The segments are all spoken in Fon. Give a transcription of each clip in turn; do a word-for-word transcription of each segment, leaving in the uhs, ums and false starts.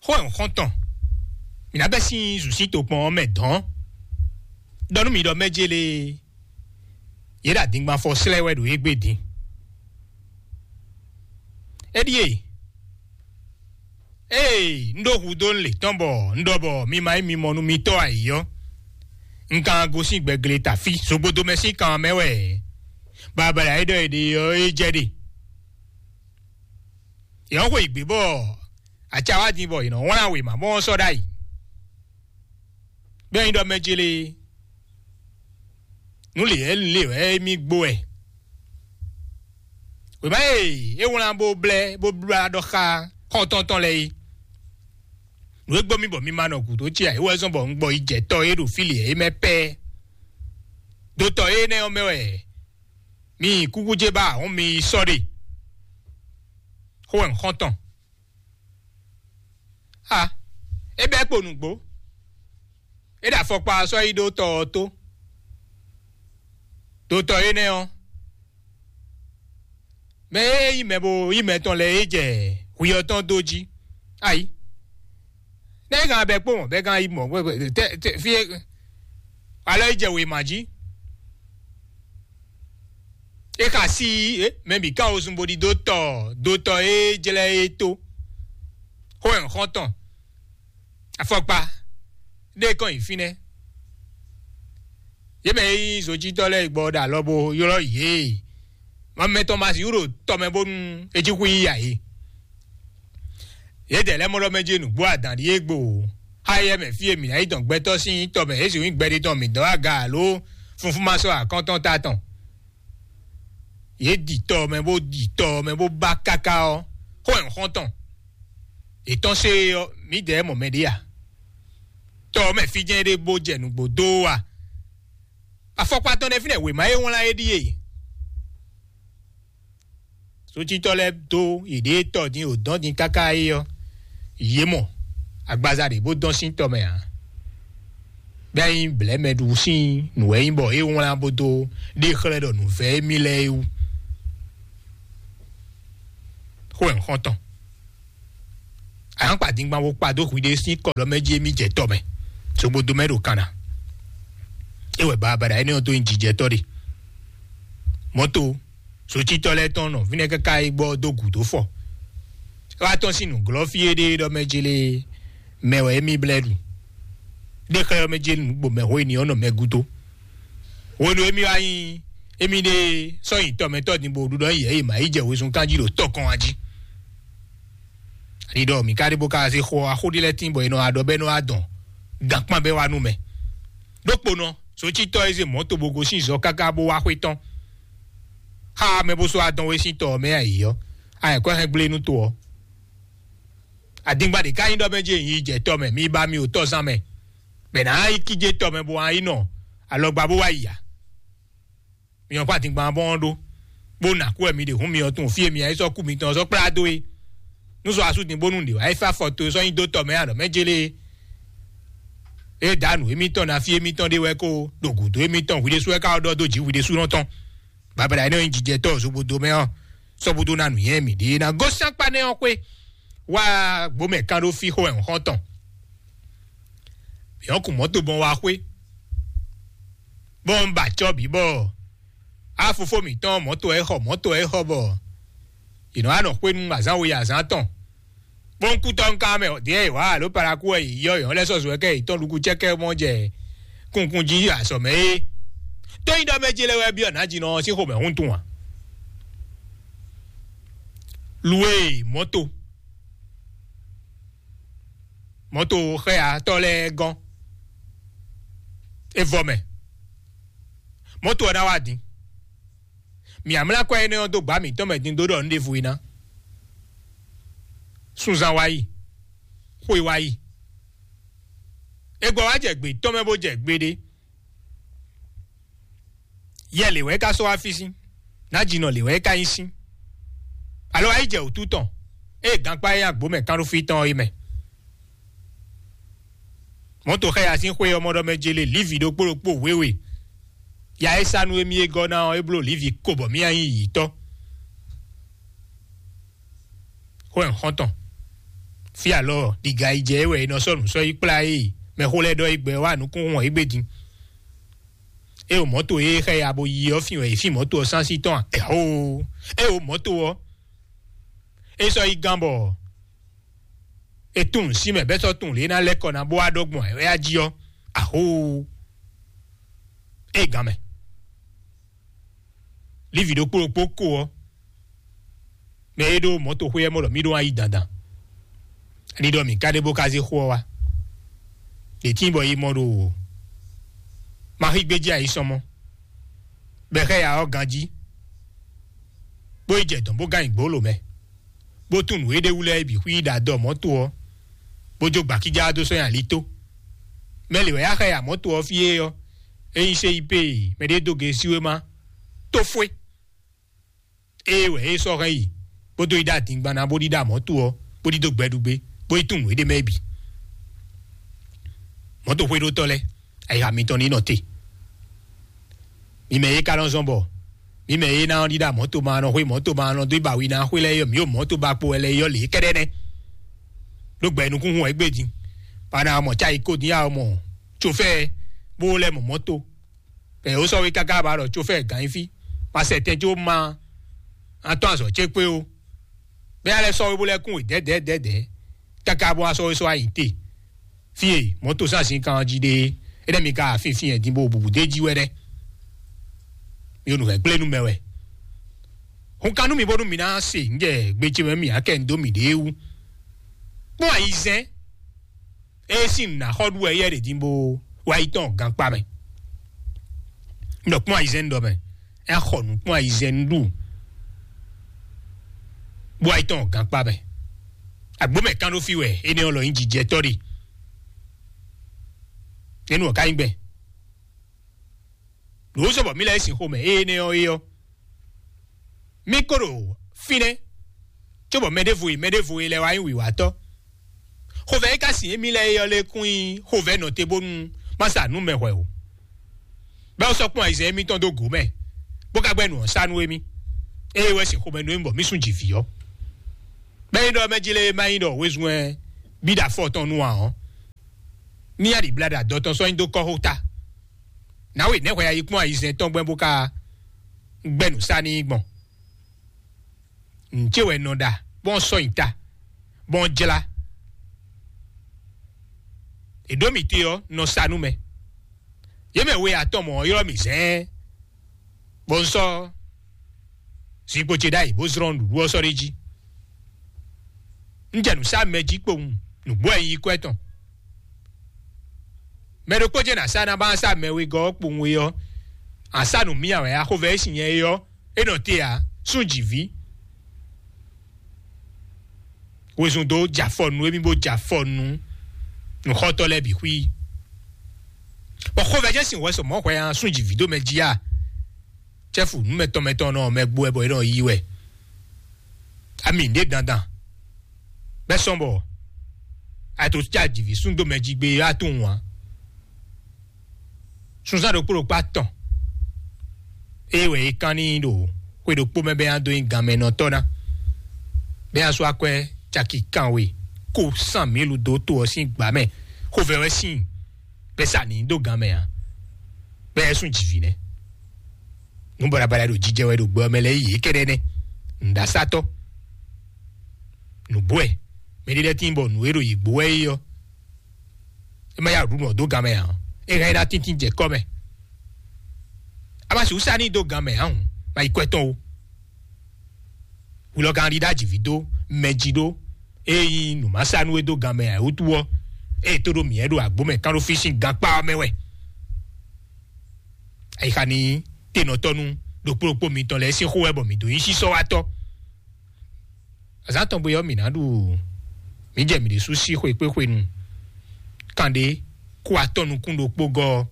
Xó e un xɔ́n tɔn, mǐ ná bɛ́ sín zǔsín tokpɔn ɔ́ mɛ dɔ̌n. Ɖɔ nú mì ɖɔ mɛ́ jélé yě ɖo adingbanfɔ slɛ́ wɛ ɖo égbé din. É ɖíe, ée un ɖó hudó un lě tɔn bɔ un ɖɔ bɔ mi ma nyí mi mɔ nú mitɔ́ ayǐ ɔ́, un ka gosín gbɛgle ta fí zogbodomɛ sín kan mɛ wɛ. Babala e ɖɔ è ɖe ɔ́, é jɛ ɖe. Yě nɔ xwe yǐgbe bɔ aca wá din bɔ yě nɔ wlán wěma mɔ ɔ́ sɔ́ ɖ'ayǐ. Bɛ́ nyí ɖɔ mɛ ce lé, nǔ lě wɛ lě wɛ émí gbo wɛ. Wěma e é wlán bó blɛ́ bó blá ɖɔ xá xɔ́ntɔn tɔn lɛ́ɛ é. Nǔ e gbɔ mì bɔ mi ma nɔ gǔdo ce ǎ, é wɛ zɔ́n bɔ un gbɔ yi jɛ tɔ e ɖo fí lě é mɛ pɛ́. Dotɔ énɛ́ ɔ́ mɛ wɛ mi yi kúkú ce ba ahɔ́n mi yi sɔ́ ɖe. Xó wɛ un xɔ́n tɔn. A, é bɛ́ kpo nǔgbó. É ɖo afɔkpa ɔ́ sɔ́ yi ɖó tɔ ɔ́ tó. Dotɔ énɛ́ ɔ́, mɛ e nyí mɛ bo nyí mɛ tɔn lɛ́ɛ é jɛ hwi ɔ́ tɔn dó jí. Ayi. Nɛ́ é gán bɛ́ kpo mɔ̌ bɛ́ gán yi mɔ̌ tɛ tɛ fí é alɔ é jɛ wěma jí. É xa sí é mɛ bǐ ká wosún bo ɖidó tɔ dotɔ é jlɛ́ é tó. Xó wɛ un xɔ́n tɔn. Afɔkpa ɖé kɔn nyi fínɛ́. Yě mɛ e nyí zojítɔ́ lɛ́ɛ gbɔ ɖo alɔ bo ylɔ́ yě. Mamɛ tɔn ma sixú ɖo tɔ mɛ bónú é cí xú yí ǎ é. Yědɛɛ lɛ́ɛ mɔ ɖɔ mɛ jí nǔgbó adǎn ɖíe gbo. Xá éyɛ́ mɛ fí e mǐ ná yi dɔn gbɛtɔ́ sín tɔ mɛ é sixú nyí gbɛɖe tɔn mǐ dɔn aga alo funfún ma sɔ́ akɔ́ntɔn ta tɔn. Yě ɖi tɔ mɛ bó ɖi tɔ mɛ bó ba káká ɔ́, xó wɛ un xɔ́n tɔn. Yě tɔ́n sé ɔ́, mǐdɛɛ mɔ mɛ ɖé a? Tɔ mɛ fí jɛ́n ɖé bó jɛ nǔgbó dó a? Afɔkpa tɔn ɖé fínɛ́ wěma e wlán é ɖíe. Sócítɔ́ lɛ́ɛ dó yěɖée tɔ din, yě dɔn din káká é ɔ́, yě mɔ agbaza ɖě bó dɔn sín tɔ mɛ ǎ. Bɛ́ nyí blɛ̌mɛɖu sín nǔ wɛ nyí bɔ é wlán bó dó ɖe xlɛ́ ɖɔ nǔvɛ́ émí lɛ́ɛ é wú. Xó wɛ un xɔ́n tɔn. Ayǎnkpa dingban bó kpa dó hwiɖée sín kɔɖɔ mɛ jí émí jɛ tɔ mɛ. Sogbodo mɛ ɖo kanna. É wɛ babaɖa énɛ́ ɔ́ dó nyi jijɛtɔ́ ɖe. Mɔ̌to socítɔ́ lɛ́ɛ tɔn nɔ fínɛ́ káká yi gbɔ dó gǔdo fɔ. É wá tɔ́n sín nǔglɔ́ fí éɖée ɖɔ mɛ jélé mɛ wɛ émí blɛ́ ɖu. Ɖé xlɛ́ ɔ́ mɛ jélé nǔgbó mɛ xó éni ɔ́ nɔ mɛ gúdo. Hwenu émí wá nyí émí ɖée sɔ́ nyi tɔmɛtɔ́ din bó ɖu ɖɔ yɛ yi mǎ yi jɛ wezun kanjí ɖo tɔ́ kɔn wá jí. Ani ɖɔ mǐ ka ɖe bó ka zé xɔ axó ɖé lɛ́ɛ tín bɔ è nɔ wá ɖɔ bɔ é nɔ wá dɔn gankpán bɛ́ wá nú mɛ. Ɖokponɔ, socítɔ́ e zé mɔ̌to bó gosín zɔ káká bó wá xwé tɔn. Xá mɛ bó sɔ́ wá dɔn wé sín tɔ ɔ́ mɛ ayǐ ɔ́, ayɛ̌kɔ́ hɛn gblé nú to ɔ́. Adingba ɖě ká nyí ɖɔ mɛ jɛ yi jɛ tɔ mɛ, mi ba mi o tɔzán mɛ. Bɛ̌ ná yi kíjé tɔ mɛ bó wá yi nɔ alɔgba bó wá yi ǎ. Mi ɔ́ kpó adingban bɔ́ ɔ́ ɖó, bó nǎ kú wɛ mi ɖe hǔn mi ɔ́ tunwun fí e mi ǎ yi sɔ́ kú mitɔn ɔ́ sɔ́ kplá dó é. Nú sɔ asú din bónú ɖě wá yi fá fɔ to e sɔ́ nyi dó tɔ mɛ alɔ mɛ jélé é. É ɖǎ nǔ émítɔn ná fí émítɔn ɖé wɛ kó ɖo gǔdo émítɔn hwi ɖésú wɛ ká ɖɔ dó jǐ hwi ɖésúnɔ tɔn. Babala énɛ́ nyí jijɛtɔ́ zogbodo mɛ ɔ́, sɔ́búdó ná nǔnywɛ́ mǐɖée ná gosín akpá nɛ́ ɔ́ xwé. Wá gbǒmɛ kán ɖó fí xó wɛ un xɔ́n tɔn. Mǐ ɔ́ kun mɔ̌to gbɔn wá xwé, bɔ un ba acɔ́ bǐ bɔ á fofó mǐtɔn mɔ̌to ɛ xɔ mɔ̌to ɛ xɔ bɔ yě nɔ wá nɔ xwé nú azǎn we azǎn tɔn. Kpɔ́nkútɔ́ nú ká mɛ ɖěe è wǎ alo Palakú wɛ yě yɔ yɔ̌ lɛ́ sɔ́ zo wɛ kɛ yě tɔn ɖuku cɛ́kɛ́ mɔ jɛ kunkun jí azɔ̌ mɛ é. Tó nyí ɖɔ mɛ jélé wɛ byɔ́ nǎjínɔ ɔ́ sín xomɛ hun tun ǎ. Lu e mɔ̌to mɔ̌to xɛyatɔ́ lɛ́ɛ gɔ́n é vɔ mɛ. Mɔ̌to ɔ́ ná wá din. Mǐ amlá kɔ énɛ́ ɔ́ dó gbǎ mǐtɔn mɛ din dó ɖɔ nǔ ɖěvo é ná. Sunzan wá yi, xwe wá yi. É gbɔ wá jɛ gbě tɔn mɛ bó jɛ gbeɖé. Yɛ lě wɛ é ka sɔ́ wá fí sín, nǎjínɔ lě wɛ é ka nyí sín. Alo wá yi jɛ wǔtu tɔn, ée gankpá e nyi agbǒ mɛ kánɖófí tɔn ɔ́ é mɛ. Mɔ̌to xá ya sín xwé ɔ́ mɔ ɖɔ mɛ jélé Livi ɖokpó ɖokpó wěwe. Ya e sa nú émí e gɔ́ ná ɔ́, é bló Livi ko bɔ mǐ nyi yǐtɔ́. Xó ɛ xɔ́ntɔn. Fí alɔ ɖiga yi jɛ é wɛ è nɔ sɔ́ nǔ sɔ́ yi kplá é. Mɛxó lɛ́ɛ ɖɔ é gbɛ wá nukúnhún ɔ́ égbé din. É o mɔ̌to e xɛ ya bo yi ɔ́ fin wɛ è fin mɔ̌to ɔ́ sánsí tɔn a? Ɛhoo! É o mɔ̌to ɔ́, é sɔ́ yi gán bɔ é tunwun sí mɛ bɛ́ sɔ́ tunwun lě ná lɛ́ kɔ ná bó wá ɖɔ gbɔn ɛ wɛ á jí ɔ́. Ahoo! É gán mɛ. Lívi ɖokpó ɖokpó ko ɔ́, mɛ e ɖó mɔ̌toxwé ɔ́ mɔ ɖɔ mì ɖó wá yi dandan. Ani ɖɔ mǐ ka ɖe bó ka zé xó ɔ́ wá? Ɖě tíin bɔ yi mɔ ɖo Maxígbéjí ayisɔmɔ, bɔ è xá ya ɔ́ ganjí, bó yi jɛ dɔ̌n bó gán nyi gbǒlo mɛ, bó tunwun nǔ e ɖ'é wú lɛ́ɛ bǐ xwí ɖo adɔ mɔ̌to ɔ́, bó jó gbakíjá dó sɔ́ nyi ali tó. Mɛ lě wɛ yá xá ya mɔ̌to ɔ́ fí é ɔ́, é nyí sé yi pé mɛɖé dó ge síwéma tó fwé. Ée wɛ é sɔ́ hɛn yi, bó dó yi ɖó adingban ná bó ɖíɖá mɔ̌to ɔ́, bó ɖídó gbɛɖugbé, bó yi tunwun nǔ e ɖ'é mɛ é bǐ. Mɔ̌toxwéɖótɔ́ lɛ́ɛ, ayixa mitɔn ní nɔ te. Mi mɛ e ka nɔ zɔn bɔ mi mɛ e ná ɔ́ ɖíɖá mɔ̌to ma nɔ xwé mɔ̌to ma nɔ dó yi ba wi ná xwé lɛ́ɛ yɔ mǐ ɖo mɔ̌to ba kpo wɛ lɛ́ɛ yɔ lě kɛ́ɖɛ́ nɛ́. Ɖó gbɛ nukúnhun wɛ gbé din. Ba ná mɔ cáyi kó din ya mɔ tsofɛ́ bó lɛ́ mɔ mɔ̌to. Ɛ ó sɔ́ wé káká ba ɖɔ tsofɛ́ gǎn nyí fí. Ma sɛ tɛn có ma atɔ́ azɔ̌ ce kpé ó. Bɛ́ alɛ sɔ́ wé bó lɛ́ kún wě dɛ̌dɛ̌dɛ̌dɛ̌. Káká bó wá sɔ́ wé sɔ́ wá nyi te. Fí e mɔ̌to sín azǐnkan ɔ́ jí ɖe é, énɛ́ mi ka afínfín ɛ din bó bubu d'é jí wɛ nɛ́. Mi ɖo nǔ hɛn gblé nú mɛ wɛ. Hun kan nú mi bónú mi ná se ŋjɛ gbe ce mɛ mi akɛ ŋ dó mi ɖě wú. Kpɔ́n ayizɛ́n e sín nǔ ná xɔ ɖu wɛ yɛ ɖě din bó wá yi tɔn gankpá mɛ. Un ɖɔ kpɔ́n ayizɛ́n ɖɔ mɛ, é xɔ nǔ kpɔ́n ayizɛ́n ɖu bó wá yi tɔn gankpá mɛ. Àgbó mɛ kán ɖó fí wɛ énɛ́ ɔ́ lɔ nyí jijɛtɔ́ ɖe. Énú ɔ́ ká nyí gbɛn. Lǒ sɔ bɔ mí lɛ́ sin xomɛ énɛ́ ɔ́ é ɔ́, mí kó ɖo fínɛ́, cóbɔ mɛ ɖěvo e mɛ ɖěvo e lɛ́ wá nyí wǐwátɔ́. Xovɛ́ e ka sin émí lɛ́ɛ é ɔ́ lɛ́ kún nyí xovɛ́ nɔte bónú má sa nǔ mɛ hwɛ o. Bɛ́ ó sɔ́ kpɔ́n ayizɛ́n émítɔn dó gǒ mɛ, bó ka gbɛ́ nǔ ɔ́ sá nú émí. Ée wɛ sin xomɛ nú émí bɔ mí sún jǐ vǐ ɔ́. Bɛ́ nyí ɖɔ mɛ jí lé má nyí ɖɔ wezun wɛ bí ɖo afɔ tɔn nu ǎ ɔ́, ní yá ɖi bla ɖo adɔ tɔn sɔ́ nyi dó kɔ́xota. Nǎwe nɛ̌ hwɛ ayi kpɔ́n ayizɛ́n tɔn gbɛn bó ka gbɛ́ nǔ sá n'i gbɔn? Nǔ ce wɛ nɔ ɖa bɔn sɔ́ nyi ta bɔn jlá. È ɖǒ mì te ɔ́ nɔ sa nú mɛ. Yě mɛ we atɔn mɔ̌ ɔ́ ylɔ́ mì zɛ̌ɛn, bɔ un sɔ́ zinkpo ce ɖ'ayǐ bó zlɔ́n nǔɖuɖu ɔ́ sɔ́ ɖ'é jí. Un jɛ nǔ sá mɛ jí kpowun, nǔgbó wɛ nyí yi kwɛ́ tɔn. Mɛ ɖokpó jɛ́n ná sá ná bá sá mɛ wegɔ́ ɔ́ kpowun é ɔ́, a sá nǔ mì awɛ axovɛ e sin nyɛ é ɔ́, é nɔ te ǎ, sún jǐví. Wezun dó jɛ afɔ nú émí bó jɛ afɔ nú nǔxɔtɔ́ lɛ́ɛ bǐ xwí. Bɔ xovɛ jɛ́n sin hwɛ sɔ mɔ̌ hwɛ a sún jǐví dó mɛ jí a? Cɛ́fu nǔmɛtɔn mɛtɔn nɔ mɛ gbó wɛ bɔ é nɔ yí wɛ. Ami ɖě dandan. Bɛ́ sɔ́n bɔ a to cá jǐví sún dó mɛ jí gbé a tunwun ǎ. Sunzán ɖokpó ɖokpó atɔn. Ée wɛ é kán n'i ɖo xwe ɖokpó mɛ bɛ́ nya dó nyi ganmɛnɔtɔ́ ná. Bɛ́ nya sú akwɛ́ caki kanwe ko sán mǐlu dó to ɔ́ sín gbǎ mɛ. Xovɛ wɛ sín bɛ́ sa nǐ dó gan mɛ ǎ. Bɛ́ ɛ sún jǐví nɛ́. Nǔ baɖabaɖa ɖo jijɛ wɛ ɖo gbɛ ɔ́ mɛ lɛ́ɛ yě kɛ́ɖɛ́ nɛ́. Nǔɖasátɔ́. Nǔgbó wɛ. Mɛ ɖé lɛ́ɛ tíin bɔ nǔ e ɖo yě gbó wɛ é ɔ́, é má yá ɖu nǔ ɔ́ dó gan mɛ ǎ. É hɛn é ná tíntín jɛ kɔ́ mɛ. A ma sixú sá n'i dó gan mɛ ǎ hǔn, ma yi kwɛ tɔn o. Hulɔ kan ɖi ɖó ajǐví dó mɛ jí ɖó, ée nyí nǔ ma sá nú é dó gan mɛ ǎ é wútu ɔ́, ée tó ɖó mǐ ɛ ɖo agbǒ mɛ kán ɖó fí sín gankpá ɔ́ mɛ wɛ. Ayixa ní tenɔtɔ́ nú ɖokpó ɖokpó mitɔn lɛ́ɛ sín xó wɛ bɔ mǐ dó nyí sísɔ́watɔ́. Azǎn tɔn gbe ɔ́, mǐ ná ɖu mǐ jɛ mǐ ɖésú sí xwekpéxwenu kanɖé kó atɔ́ nukún ɖokpó gɔ́ ɔ́.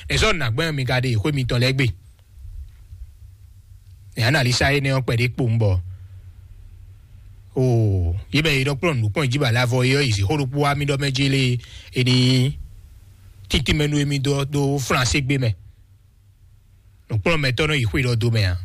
Nɛ̌ sɔ́ nǎgbɛ́n mi ka ɖe xwé mitɔn lɛ́ɛ gbe? Nɛ̌ analisa énɛ́ ɔ́ kpɛɖé kpowun bɔ oo yě mɛ e nɔ kplɔ́n nǔkplɔ́n jí ba lavɔ é ɔ́ yi zǐxó ɖokpó wá mì ɖɔ mɛ jí lé é ní tíntín mɛ nú émí dó dó Flansé gbé mɛ. Nǔkplɔ́nmɛtɔ́ nɔ yi xwe ɖɔ dó mɛ ǎ.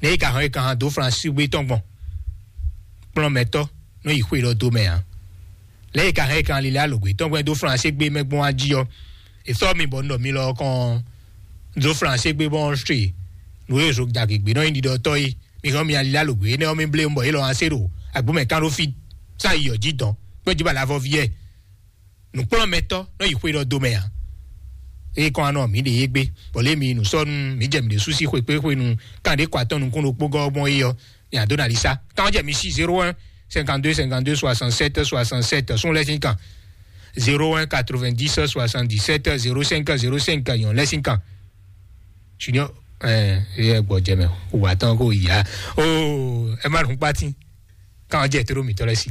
Nɛ̌ yi ka hɔn yi ka hɔn dó Flansé gbé tɔn gbɔn? Kplɔ́nmɛtɔ́ nɔ yi xwe ɖɔ dó mɛ ǎ. Lɛ́ e ka hɛn kan lilɛ alogbe tɔn gbɛn dó flansé gbé mɛ gbɔn ají ɔ́, e sɔ́ mi bɔ nɔ mi lɔ kɔn dó flansé gbé bɔn ṣe nǔ e zo dagbe gbé nɔ nyi ɖiɖɔ tɔ́ yi. Mi hɔn mi alilɛ alogbe énɛ́ ɔ́ mi blé bɔ yě lɔ asé ɖo agbó mɛ kán ɖó fí sá yi ɔ́ jí dɔn kpé jí ba lavɔ viɛ nǔkplɔ́nmɛtɔ́ nɔ yi xwé ɖɔ dó mɛ ǎ. Eye kɔn anɔ mi ɖe yé gbé bɔ lé mi nǔ sɔ́ nú mi jɛ mi ɖe sú sí xwekpéxwenu kan ɖé kɔ atɔ́ nukún ɖokpó gɔ́ gbɔn é ɔ́, mi adó na li sá. Kan jɛ mi sí zéro un cinquante-deux cinquante-deux soixante-sept soixante-sept sún lɛ sín kan zéro un quatre-vingt-dix soixante-dix-sept zéro cinq zéro cinq yɔn lɛ sín kan. Junior ɛ ɛ gbɔ jɛ mɛ wà tán kó yá o ɛ má dùn pátí kan jẹ tó mi tọ́lẹ̀ sí.